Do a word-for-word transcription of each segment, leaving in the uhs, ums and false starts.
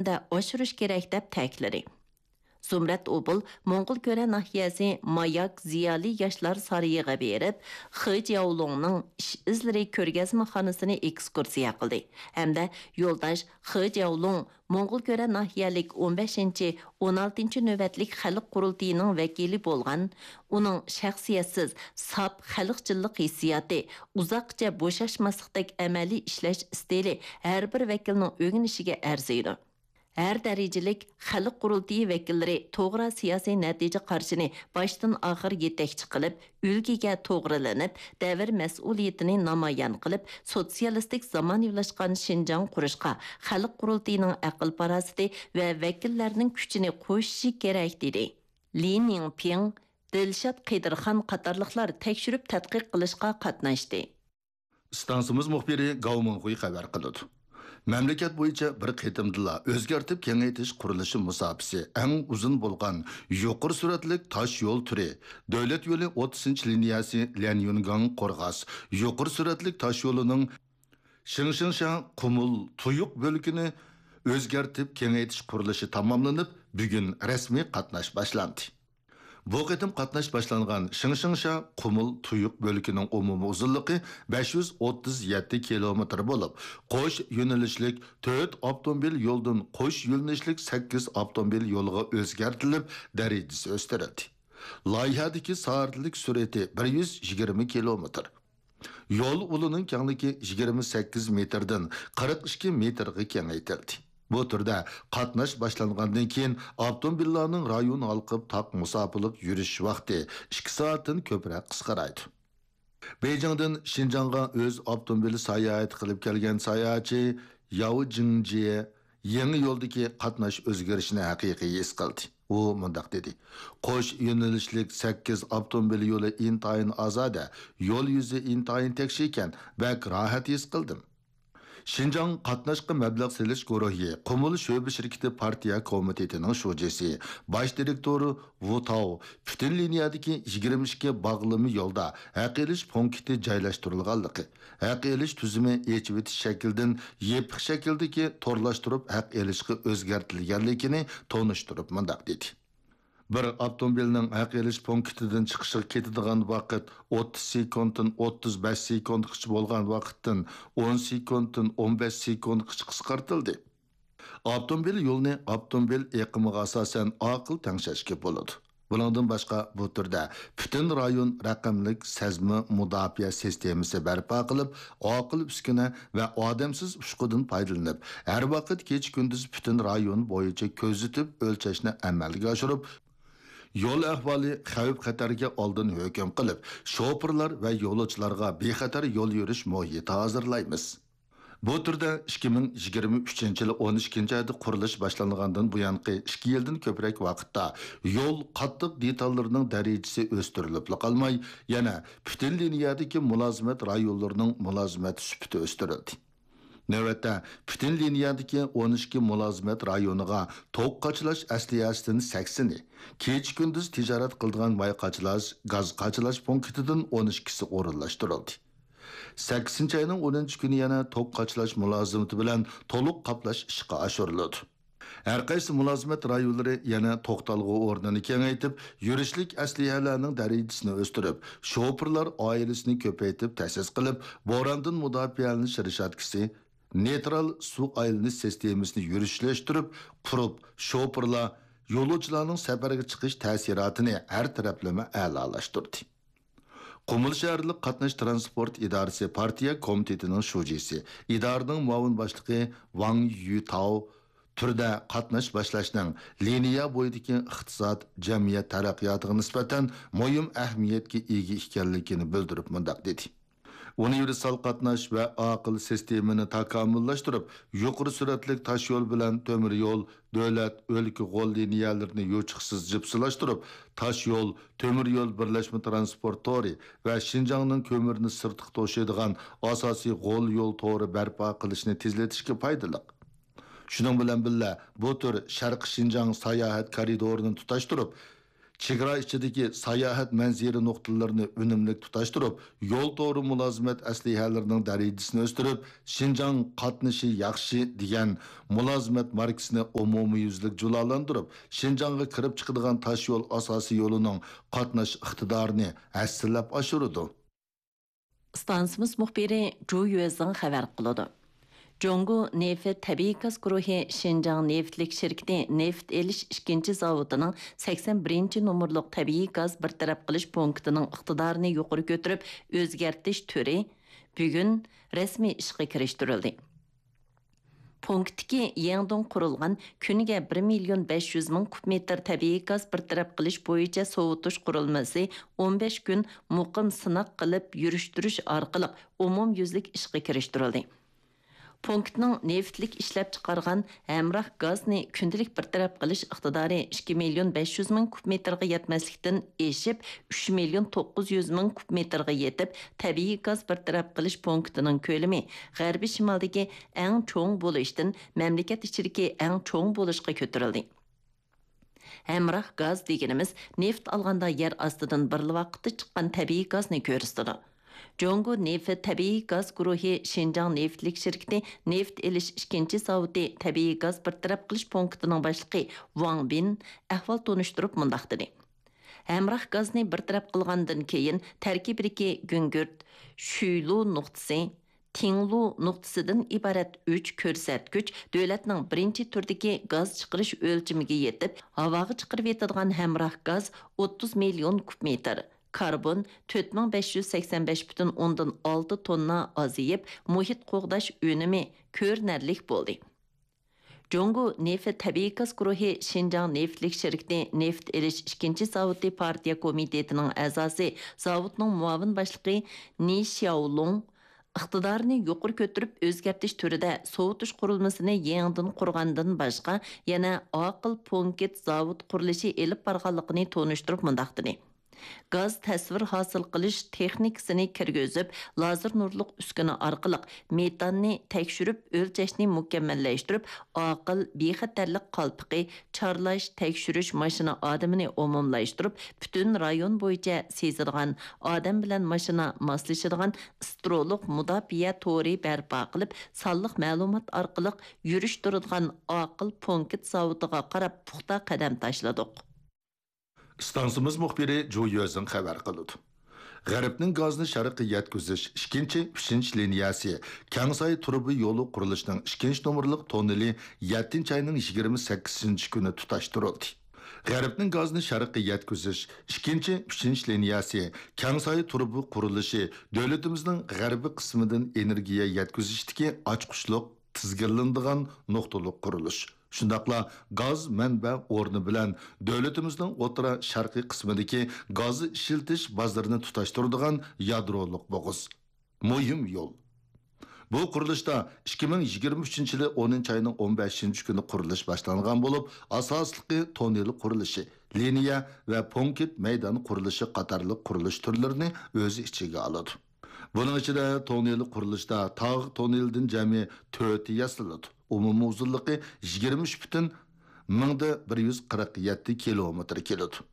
ئەمەلىيەتتە ئاشۇرۇش كېرەك، دەپ تەكىتلىدى. زۇمرەت ئوبۇل موڭغۇلكۈرە ناھىيەسى ماياك زىيالىي ياشلار سارىيىغا بېرىپ، خې جياۋلۇڭنىڭ ئىش ئىزلىرى كۆرگەزمىخانىسىنى ئېكسكۇرسىيە قىلدى ھەمدە يولداش خې جياۋلۇڭ موڭغۇلكۈرە ناھىيەلىك ئون بەشىنچى، ئون ئالتىنچى نۆۋەتلىك خەلق قۇرۇلتىيىنىڭ ۋەكىلى بولغان، ئۇنىڭ شەخسىيەتسىز، ساپ خەلقچىللىق ھېسسىياتى، ئۇزاققىچە بوشاشماسلىقتەك ئەمەلىي ئىشلەش ئىستىلى ھەر بىر ۋەكىلنىڭ ئۆگىنىشىگە ئەرزىيدۇ. ھەر دەرىجىلىك خەلق قۇرۇلتىيى ۋەكىللىرى توغرا سىياسىي نەتىجە قارىشىنى باشتىن ئاخىر يېتەكچى قىلىپ، ئۈلگىگە توغرىلىنىپ، دەۋر مەسئۇلىيىتىنى نامايان قىلىپ، سوتسىيالىستىك زامانىۋىلاشقان شىنجاڭ قۇرۇشقا خەلق قۇرۇلتىيىنىڭ ئەقىل-پاراسىتى ۋە ۋەكىللەرنىڭ كۈچىنى قوشۇشى كېرەك، دېدى. لى نىڭپىڭ، دىلشات قېدىرخان قاتارلىقلار تەكشۈرۈپ تەتقىق قىلىشقا قاتناشتى. ئىستانسىمىز مۇخبىرى گاۋ مىڭخۇي خەۋەر قىلىدۇ. مەملىكەت بويىچە بىر قېتىمدىلا ئۆزگەرتىپ كېڭەيتىش قۇرۇلۇشى مۇساپىسى ئەڭ ئۇزۇن بولغان يۇقىرى سۈرئەتلىك تاش يول تۈرى، دۆلەت يولى ئوتتۇزىنچى لىنىيەسى ليەنيۈنگاڭ قورغاس، يۇقىرى سۈرئەتلىك تاش يولىنىڭ شىڭشىڭشيا قۇمۇل تۇيۇق بۆلىكىنى ئۆزگەرتىپ كېڭەيتىش قۇرۇلۇشى تاماملىنىپ، بۈگۈن رەسمىي قاتناش باشلاندى. بۇ قېتىم قاتناش باشلانغان شىڭشىڭشيا قۇمۇل تۇيۇق بۆلىكىنىڭ ئومۇمىي ئۇزۇنلۇقى بەش يۈز ئوتتۇز يەتتە كىلومېتىر بولۇپ، قوش يۆنىلىشلىك تۆت ئاپتوموبىل يولدىن قوش يۆنىلىشلىك سەككىز ئاپتوموبىل يولىغا ئۆزگەرتىلىپ، دەرىجىسى ئۆستۈرۈلدى. لايىھەدىكى سائەتلىك سۈرئىتى بىر يۈز يىگىرمە كىلومېتىر. يول ئۇلىنىڭ كەڭلىكى يىگىرمە سەككىز مېتىردىن قىرىق ئىككى مېتىرغا كېڭەيتىلدى. بۇ تۈردە قاتناش باشلانغاندىن كېيىن، ئاپتوموبىللارنىڭ رايون ھالقىپ تاق مۇساپىلىق يۈرۈش ۋاقتى ئىككى سائەتتىن كۆپرەك قىسقىرايدۇ. بېيجىڭدىن شىنجاڭغا ئۆز ئاپتوموبىلى ساياھەت قىلىپ كەلگەن ساياھەتچى ياۋ جىڭجيې يېڭى يولدىكى قاتناش ئۆزگىرىشىنى ھەقىقىي ھېس قىلدى. ئۇ مۇنداق دېدى: «قوش يۆنىلىشلىك سەككىز ئاپتوموبىل يولى ئىنتايىن ئازادە، يول يۈزى ئىنتايىن تەكشى ئىكەن، بەك راھەت ھېس قىلدىم.» شىنجاڭ قاتناشقا مەبلەغ سېلىش گۇرۇھى قۇمۇل شۆبە شىركىتى پارتىيە كومىتېتىنىڭ شۇجىسى، باش دىرېكتورى ۋۇ تاۋ پۈتۈن لىنىيەدىكى يىگىرمە ئىككى باغلىما يولدا ھەق ئېلىش پونكىتى جايلاشتۇرۇلغانلىقى، ھەق ئېلىش تۈزۈمى ئېچىۋېتىش شەكلىدىن يېپىق شەكىلدىكى تورلاشتۇرۇپ ھەق ئېلىشقا ئۆزگەرتىلگەنلىكىنى تونۇشتۇرۇپ مۇنداق دېدى: «بىر ئاپتوموبىلنىڭ ھەق ئېلىش پونكىتىدىن چىقىشىغا كېتىدىغان ۋاقىت ئوتتۇز سېكۇنتتىن ئوتتۇز بەش سېكۇنتقىچە بولغان ۋاقىتتىن ئون سېكۇنتتىن ئون بەش سېكۇنتقىچە قىسقارتىلدى.» ئاپتوموبىل يولىنى ئاپتوموبىل ئېقىمىغا ئاساسەن ئاقىل تەڭشەشكە بولىدۇ. بۇنىڭدىن باشقا، بۇ تۈردە پۈتۈن رايون رەقەملىك سەزمە مۇداپىئە سىستېمىسى بەرپا قىلىپ، ئاقىل ئۈسكۈنە ۋە ئادەمسىز ئۇچقۇدىن پايدىلىنىپ، ھەر ۋاقىت كېچە-كۈندۈز پۈتۈن رايون بويىچە كۆزىتىپ ئۆلچەشنى ئەمەلگە ئاشۇرۇپ، يول ئەھۋالى، خەۋپ-خەتەرگە ئالدىن ھۆكۈم قىلىپ، شوپۇرلار ۋە يولۇچىلارغا بىخەتەر يول يۈرۈش مۇھىتى ھازىرلايمىز. بۇ تۈردە ئىككى مىڭ يىگىرمە ئۈچىنچى يىلى ئون ئىككىنچى ئايدا قۇرۇلۇش باشلانغاندىن بۇيانقى ئىككى يىلدىن كۆپرەك ۋاقىتتا يول قاتتىق دېتاللىرىنىڭ دەرىجىسى ئۆستۈرۈلۈپلا قالماي، يەنە پۈتۈن لىنىيەدىكى مۇلازىمەت رايونلىرىنىڭ مۇلازىمەت سۈپىتى ئۆستۈرۈلدى. نۆۋەتتە، پۈتۈن لىنىيەدىكى ئون ئىككى مۇلازىمەت رايونىغا توك قاچىلاش ئەسلىھەسىدىن سەكسىنى، كېچە-كۈندۈز تىجارەت قىلىدىغان ماي قاچىلاش، گاز قاچىلاش پونكىتىدىن ئون ئىككىسى ئورۇنلاشتۇرۇلدى. سەككىزىنچى ئاينىڭ ئونىنچى كۈنى يەنە توك قاچىلاش مۇلازىمىتى بىلەن تولۇق قاپلاش ئىشقا ئاشۇرۇلىدۇ. ھەر قايسى مۇلازىمەت رايونلىرى يەنە توختالغۇ ئورنىنى كېڭەيتىپ، يۈرۈشلۈك ئەسلىھەلەرنىڭ دەرىجىسىنى ئۆستۈرۈپ، شوپۇرلار ئائىلىسىنى كۆپەيتىپ تەسىس قىلىپ، بوراندىن مۇداپىئەلىنىش رېشاتكىسى، نېيترال سۇ ئايلىنىش سىستېمىسىنى يۈرۈشلەشتۈرۈپ قۇرۇپ، شوپۇرلار، يولۇچىلارنىڭ سەپەرگە چىقىش تەسىراتىنى ھەر تەرەپلىمە ئەلالاشتۇردى. قۇمۇل شەھەرلىك قاتناش تىرانسپورت ئىدارىسى پارتىيە كومىتېتىنىڭ شۇجىسى، ئىدارىنىڭ مۇئاۋىن باشلىقى ۋاڭ يۈتاۋ تۈردە قاتناش باشلاشنىڭ لىنىيە بويىدىكى ئىقتىساد، جەمئىيەت تەرەققىياتىغا نىسبەتەن مۇھىم ئەھمىيەتكە ئىگە ئىكەنلىكىنى بىلدۈرۈپ مۇنداق دېدى: ئۇنىۋېرسال قاتناش ۋە ئاقىل سىستېمىنى تاكامۇللاشتۇرۇپ، يۇقىرى سۈرئەتلىك تاشيول بىلەن تۆمۈر يول، دۆلەت، ئۆلكە غول لىنىيەلىرىنى يوچۇقسىز جىپسىلاشتۇرۇپ، تاشيول، تۆمۈر يول بىرلەشمە تىرانسپورت تورى ۋە شىنجاڭنىڭ كۆمۈرنى سىرتقا توشۇيدىغان ئاساسىي غول يول تورى بەرپا قىلىشنى تېزلىتىشكە پايدىلىق. شۇنىڭ بىلەن بىللە، بۇ تۈر شەرقىي شىنجاڭ ساياھەت كارىدورىنى تۇتاشتۇرۇپ، چېگرا ئىچىدىكى ساياھەت مەنزىرە نۇقتىلىرىنى ئۈنۈملۈك تۇتاشتۇرۇپ، يول تورى مۇلازىمەت ئەسلىھەلىرىنىڭ دەرىجىسىنى ئۆستۈرۈپ، شىنجاڭ قاتنىشى ياخشى دېگەن مۇلازىمەت ماركىسىنى ئومۇميۈزلۈك جۇلالاندۇرۇپ، شىنجاڭغا كىرىپ چىقىدىغان تاشيول ئاساسىي يولىنىڭ قاتناش ئىقتىدارىنى ھەسسىلەپ ئاشۇرىدۇ. ئىستانسىمىز مۇخبىرى جۇ يۈەزىڭ خەۋەر قىلىدۇ. جۇڭگو نېفىت تەبىئىي گاز گۇرۇھى شىنجاڭ نېفىتلىك شىركىتى نېفىت ئېلىش ئىككىنچى زاۋۇتىنىڭ سەكسەن بىرىنچى نومۇرلۇق تەبىئىي گاز بىر تەرەپ قىلىش پونكىتىنىڭ ئىقتىدارىنى يۇقىرى كۆتۈرۈپ ئۆزگەرتىش تۈرى بۈگۈن رەسمىي ئىشقا كىرىشتۈرۈلدى. پونكىتتىكى يېڭىدىن قۇرۇلغان كۈنىگە بىر مىليون بەش يۈز مىڭ كۇب مېتىر تەبىئىي گاز بىر تەرەپ قىلىش بويىچە سوۋۇتۇش قۇرۇلمىسى ئون بەش كۈن مۇقىم سىناق قىلىپ يۈرۈشتۈرۈش ئارقىلىق ئومۇميۈزلۈك ئىشقا كىرىشتۈرۈلدى. پونكىتنىڭ نېفىتلىك ئىشلەپچىقارغان ھەمراھ گازنى كۈندىلىك بىر تەرەپ قىلىش ئىقتىدارى ئىككى مىليون بەش يۈز مىڭ كۇب مېتىرغا يەتمەسلىكتىن ئېشىپ، ئۈچ مىليون توققۇز يۈز مىڭ كۇب مېتىرغا يېتىپ، تەبىئىي گاز بىر تەرەپ قىلىش پونكىتىنىڭ كۆلىمى غەربىي شىمالدىكى ئەڭ چوڭ بولۇشتىن مەملىكەت ئىچىدىكى ئەڭ چوڭ بولۇشقا كۆتۈرۈلدى. ھەمراھ گاز دېگىنىمىز نېفىت ئالغاندا يەر ئاستىدىن بىرلا ۋاقىتتا چىققان تەبىئىي گازنى كۆرسىتىدۇ. جۇڭگو نېفىت تەبىئىي گاز گۇرۇھى شىنجاڭ نېفىتلىك شىركىتى نېفىت ئېلىش ئىككىنچى زاۋۇتى تەبىئىي گاز بىر تەرەپ قىلىش پونكىتىنىڭ باشلىقى ۋاڭ بىن ئەھۋال تونۇشتۇرۇپ مۇنداق دېدى: ھەمراھ گازنى بىر تەرەپ قىلغاندىن كېيىن، تەركىبىدىكى گۈڭگۈرت، شۈيلۇ نۇقتىسى، تىڭلۇ نۇقتىسىدىن ئىبارەت ئۈچ كۆرسەتكۈچ دۆلەتنىڭ بىرىنچى تۈردىكى گاز چىقىرىش ئۆلچىمىگە يېتىپ، ھاۋاغا چىقىرىۋېتىدىغان ھەمراھ گاز ئوتتۇز مىليون كۇب مېتىر، كاربون تۆت مىڭ بەش يۈز سەكسەن بەش پۈتۈن ئوندىن ئالتە توننا ئازىيىپ، مۇھىت قوغداش ئۈنۈمى كۆرۈنەرلىك بولدى. جۇڭگو نېفىت تەبىئىي گاز گۇرۇھى شىنجاڭ نېفىتلىك شىركىتى نېفىت ئېلىش ئىككىنچى زاۋۇتى پارتىيە كومىتېتىنىڭ ئەزاسى، زاۋۇتنىڭ مۇئاۋىن باشلىقى نى شياۋلۇڭ ئىقتىدارىنى يۇقىرى كۆتۈرۈپ، ئۆزگەرتىش تۈرىدە سوۋۇتۇش قۇرۇلمىسىنى يېڭىدىن قۇرغاندىن باشقا، يەنە ئاقىل پونكىت زاۋۇت قۇرۇلۇشى ئېلىپ بارغانلىقىنى تونۇشتۇرۇپ مۇنداق دېدى: گاز تەسۋىر ھاسىل قىلىش تېخنىكىسىنى كىرگۈزۈپ، لازېر نۇرلۇق ئۈسكۈنە ئارقىلىق مېتاننى تەكشۈرۈپ ئۆلچەشنى مۇكەممەللەشتۈرۈپ، ئاقىل بىخەتەرلىك قالپىقى، چارلاش، تەكشۈرۈش ماشىنا ئادىمىنى ئومۇملاشتۇرۇپ، پۈتۈن رايون بويىچە سېزىدىغان، ئادەم بىلەن ماشىنا ماسلىشىدىغان ئىسترولۇق مۇداپىئە تورى بەرپا قىلىپ، سانلىق مەلۇمات ئارقىلىق يۈرۈشتۈرىدىغان ئاقىل پونكىت زاۋۇتىغا قاراپ پۇختا قەدەم تاشلىدۇق. ئىستانسىمىز مۇخبىرى جۇ يۈەزىڭ خەۋەر قىلىدۇ. غەربنىڭ گازنى شەرققە يەتكۈزۈش ئىككىنچى، ئۈچىنچى لىنىيەسى كەڭساي تۇرۇبا يولى قۇرۇلۇشىنىڭ ئىككىنچى نومۇرلۇق توننېلى يەتتىنچى ئاينىڭ يىگىرمە سەككىزىنچى كۈنى تۇتاشتۇرۇلدى. غەربنىڭ گازنى شەرققە يەتكۈزۈش ئىككىنچى، ئۈچىنچى لىنىيەسى كەڭساي تۇرۇبا قۇرۇلۇشى دۆلىتىمىزنىڭ غەربىي قىسمىدىن ئېنېرگىيە يەتكۈزۈشتىكى ئاچقۇچلۇق تىزگىنلىنىدىغان نۇقتىلىق قۇرۇلۇش. شۇنداقلا گاز مەنبە ئورنى بىلەن دۆلىتىمىزنىڭ ئوتتۇرا شەرقىي قىسمىدىكى گاز ئىشلىتىش بازىرىنى تۇتاشتۇرىدىغان يادرولۇق بوغۇز. مۇھىم يول. بۇ قۇرۇلۇشتا ئىككى مىڭ يىگىرمە ئۈچىنچى يىلى ئونىنچى ئاينىڭ ئون بەشىنچى كۈنى قۇرۇلۇش باشلانغان بولۇپ، ئاساسلىقى توننېل قۇرۇلۇشى، لىنىيە ۋە پونكىت مەيدان قۇرۇلۇشى قاتارلىق قۇرۇلۇش تۈرلىرىنى ئۆز ئىچىگە ئالىدۇ. بۇنىڭ ئىچىدە توننېل قۇرۇلۇشتا تاغ توننېلىدىن جەمئىي تۆتى ياسىلىدۇ. ئومۇمىي ئۇزۇنلۇقى يىگىرمە ئۈچ پۈتۈن مىڭدا بىر يۈز قىرىق يەتتە كىلومېتىر كېلىدۇ.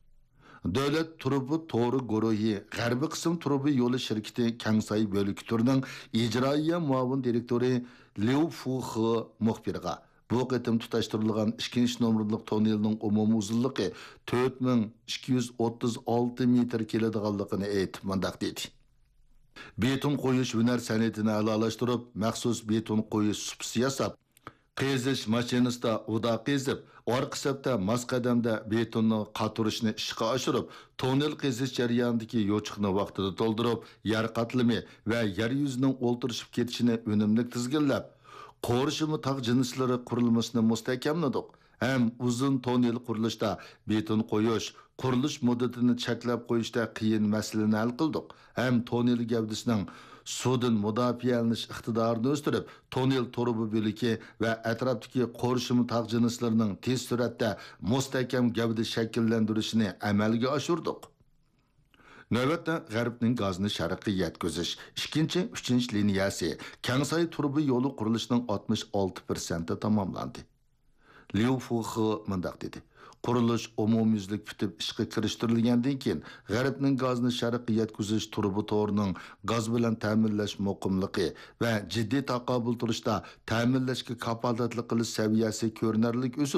دۆلەت تۇرۇبا تورى گۇرۇھى غەربىي قىسىم تۇرۇبا يولى شىركىتى كەڭساي بۆلىكى تۈرىنىڭ ئىجرائىيە مۇئاۋىن دىرېكتورى ليۇ فۇخې مۇخبىرغا، بۇ قېتىم تۇتاشتۇرۇلغان ئىككىنچى نومۇرلۇق توننېلنىڭ ئومۇمىي ئۇزۇنلۇقى تۆت مىڭ ئىككى يۈز ئوتتۇز ئالتە مېتىر كېلىدىغانلىقىنى ئېيتىپ، مۇنداق دېدى: بېتون قويۇش ھۈنەر سەنئىتىنى ئەلالاشتۇرۇپ، مەخسۇس بېتون قويۇش سۇپىسى ياساپ، قېزىش ماشىنىسىدا ئۇدا قېزىپ، ئارقا سەپتە ماس قەدەمدە بېتوننى قاتۇرۇشنى ئىشقا ئاشۇرۇپ، توننېل قېزىش جەريانىدىكى يوچۇقنى ۋاقتىدا تولدۇرۇپ، يەر قاتلىمى ۋە يەر يۈزىنىڭ ئولتۇرۇشۇپ كېتىشىنى ئۈنۈملۈك تىزگىنلەپ، قورشىما تاغ جىنسلىرى قۇرۇلمىسىنى مۇستەھكەملىدۇق. ھەم ئۇزۇن توننېل قۇرۇلۇشتا بېتون قويۇش، قۇرۇلۇش مۇددىتىنى چەكلەپ قويۇشتا قىيىن مەسىلىنى ھەل قىلدۇق. ھەم توننېل گەۋدىسىنىڭ سۇدىن مۇداپىئەلىنىش ئىقتىدارىنى ئۆستۈرۈپ، توننېل تۇرۇبا بۆلىكى ۋە ئەتراپتىكى قورشىما تاغ جىنسلىرىنىڭ تېز سۈرئەتتە مۇستەھكەم گەۋدە شەكىللەندۈرۈشىنى ئەمەلگە ئاشۇردۇق. نۆۋەتتە غەربنىڭ گازنى شەرققە يەتكۈزۈش ئىككىنچى، ئۈچىنچى لىنىيەسى كەڭساي تۇرۇبا يولى قۇرۇلۇشىنىڭ ئاتمىش ئالتە پىرسەنتى تاماملاندى. ليۇ فۇخې مۇنداق دېدى: قۇرۇلۇش ئومۇميۈزلۈك پۈتۈپ ئىشقا كىرىشتۈرۈلگەندىن كېيىن، غەربنىڭ گازنى شەرققە يەتكۈزۈش تۇرۇبا تورىنىڭ گاز بىلەن تەمىنلەش مۇقىملىقى ۋە جىددىي تاقابىل تۇرۇشتا تەمىنلەشكە كاپالەتلىك قىلىش سەۋىيەسى كۆرۈنەرلىك ئۆسىدۇ.